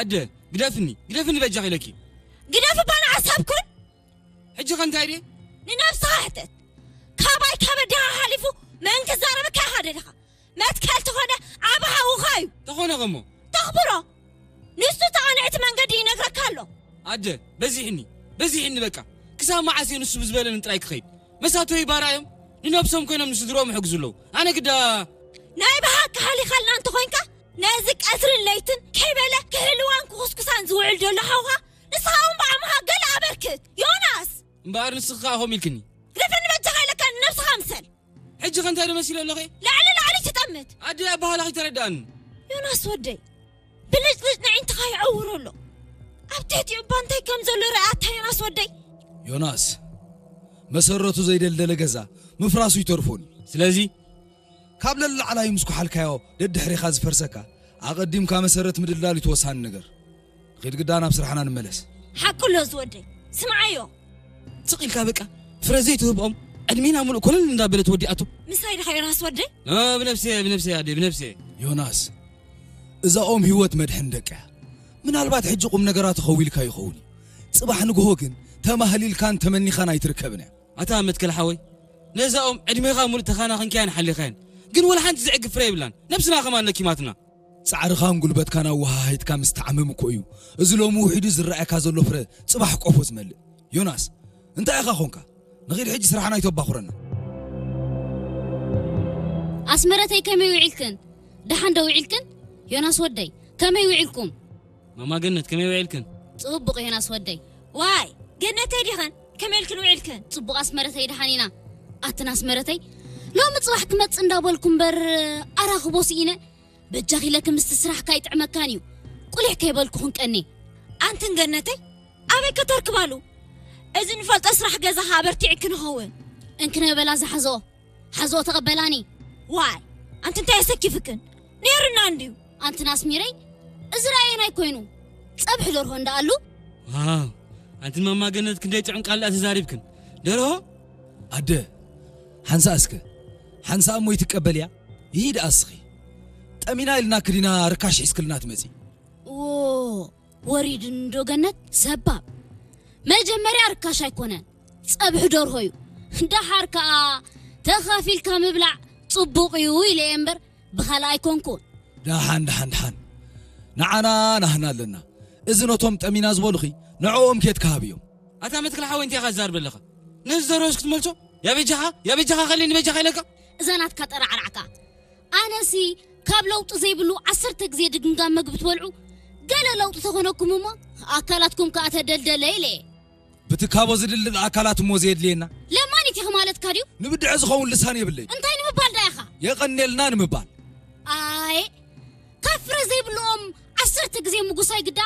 ኣደ፣ ግደፍኒ፣ ግደፍኒ በጃኺ ኢለኪ። ግደፍ እባ ንዓሰብ ኩን። ሕጂ ከ እንታይ ድየ? ንነብስኻ ሕተት። ካባይ ካብ ኣዴኻ ሓሊፉ መን ክዛረበካ ኢኻ ደሊኻ? መትከል ተኾነ ዓቢ ሓውኻ እዩ። ተኾነ ከሞ? ተኽብሮ። ንሱ ተቓንዕቲ መንገዲ ይነግረካ ኣሎ። ኣደ፣ በዚሕኒ፣ በዚሕኒ በቃ። ክሳብ መዓስ እየ ንሱ ብዝበለኒ ጥራይ ክኸይድ? መሳተዊ ባራ እዮም። ንነብሶም ኮይኖም ንስድሮኦም ይሕግዙ ኣለዉ። ኣነ ግዳ ናይ ብሓቂ ሓሊኻልና እንተኾይንካ፣ ነዚ ቀትርን ለይትን ከይበለ ክህልዋን ክኹስኩሳን ዝውዕል ዘሎ ሓውኻ፣ ንስኻ እውን ብዓቕምኻ ገለ ኣበርክት። ዮናስ! እምበኣር ንስኺ ከኣ ከምኡ ኢልክኒ። ግደፈኒ በጃኻ ኢለካ፣ ንነብስኻ ምሰል። ሕጂ ከ እንታይ ዶ መሲለ ኣለኹ? ላዕሊ ላዕሊ ትጠምት። ኣደይ ኣበሃህላኺ ተረድኣኒ። ዮናስ ወደይ፣ ብልጭልጭ ንዕንትኻ ይዕውሮ ኣሎ። ኣብ ትሕቲኡ እባ እንታይ ከም ዘሎ ርኣታ ዮናስ ወደይ። ዮናስ፣ መሰረቱ ዘይደልደለ ገዛ ምፍራሱ ይተርፎን እዩ። ስለዚ ካብ ለላዕላይ ምስ ኩሓልካዮ ደድሕሬኻ ዝፈርሰካ፣ ኣቐዲምካ መሰረት ምድልዳል እዩ እቲ ወሳኒ ነገር። ንኺድ ግዳ ናብ ስራሕና ንመለስ። ሓቁ ኣሎ ዝወደይ። ስምዓዮ። ስቕ ኢልካ በቃ ፍረ ዘይትህብኦም ዕድሜና ሙሉእ ኮለል እንዳበለት ወዲኣቶ። ምሳይ ድኻ ዮናስ ወደይ? እ፣ ብነፍሰይ፣ ብነፍሰይ ኣደይ፣ ብነፍሰይ። ዮናስ፣ እዛ ኦም ህይወት መድሕን ደቃ እያ። ምናልባት ሕጂ ቁም ነገራ ተኸዊልካ ይኸውን እዩ። ጽባሕ ንግሆ ግን ተማህሊልካን ተመኒኻን ኣይትርከብን እያ። ኣታ መትከል ሓወይ፣ ነዛ ኦም ዕድሜኻ ሙሉእ ተኻናኺንካያን ሓሊኻያን፣ ግን ወላ ሓንቲ ዝዕግብ ፍረ የብላን። ነብስና ከማን ለኪማትና። ጻዕርኻን ጉልበትካን ኣወሃሂድካ ምስ ተዓምም እኮ እዩ እዚ ሎሚ ውሒዱ ዝረኣየካ ዘሎ ፍረ ጽባሕ ቆፎ ዝመልእ። ዮናስ፣ እንታይ ኢኻ ኾንካ? ንኺድ ሕጂ ስራሕና ኣይተባኹረና። ኣስመረተይ ከመይ ውዒልክን? ደሓን ዶ ውዒልክን? ዮናስ ወደይ፣ ከመይ ውዒልኩም? ማማ ገነት፣ ከመይ ውዒልክን? ጽቡቕ ዮናስ ወደይ። ዋይ፣ ገነተይ ዲኸን? ከመይ ኢልክን ውዒልክን? ጽቡቕ ኣስመረተይ፣ ደሓን ኢና። ኣትን ኣስመረተይ፣ ሎሚ ጽባሕ ክመጽእ እንዳበልኩ እምበር ኣራኽቦ ስኢነ። በጃኺ ኢለኪ ምስቲ ስራሕካ ኣይጥዕመካን እዩ። ቁሊሕ ከይበልኩ ክንቀኒ። ኣንትን ገነተይ፣ ኣበይ ከተርክባሉ? እዚ ንፈልጦ ስራሕ ገዛኻ ኣበርቲዕኪ ንኸውን። እንክነ በላ ዝሓዞ ሓዞ ተቐበላኒ። ዋይ፣ ኣንቲ እንታይ የሰኪፍክን? ነይሩና እንድዩ። ኣንትን ኣስሚረይ፣ እዚ ራእየን ኣይኮይኑ። ጸብሒ ደርሆ እንዳኣሉ። ዋው፣ ኣንትን ማማ ገነት ክንደይ ጥዑም ቃል ደኣ ተዛሪብክን። ደርሆ? ኣደ፣ ሓንሳእ እስከ። ሓንሳእ እሞ ይትቀበልያ? ይሂድ ኣስኺ። ጠሚና ኢልና ክዲና ርካሽ ሒዝክልና ትመጺ። ዎ፣ ወሪድን ዶ ገነት ሰባብ። መጀመርያ ርካሽ ኣይኮነን፣ ጸብሒ ደርሆ እዩ። ደሓር ከኣ ተኻፊልካ ምብላዕ ጽቡቕ እዩ ኢለ እየ እምበር ብኻልእ ኣይኮንኩን። ደሓን፣ ደሓን፣ ደሓን። ንዓና ናህና ኣለና። እዚ ነቶም ጠሚና ዝበሉኺ ንዕኦም ኬድካ ሃብዮም። ኣታ መትክል ሓወይ እንታይ ኢኻ ትዛርብ ኣለኻ? ነዚ ዘረስ ክትመልሶ? ያ በጃኻ፣ ያ በጃኻ ከለኒ በጃኻ ኢለካ? እዛ ናትካ ጠራዕራዕካ። ኣነሲ ካብ ለውጢ ዘይብሉ ዓሰርተ ግዜ ድግምጋም መግቢ ትበልዑ፣ ገለ ለውጢ ተኾነኩም እሞ ኣካላትኩም ከኣ ተደልደለ ኢለ እየ። ብትካቦ ዝድልድል ኣካላት እሞ ዘየድልየና። ለማኒት ኢኺ ማለትካ ድዩ? ንብድዐ ዝኸውን ልሳን የብለይ። እንታይ ንምባል ዳ ኢኻ? የቐንየልና ንምባል። ኣይ፣ ካብ ፍረ ዘይብልኦም ዓሰርተ ግዜ ምጉሳይ ግዳ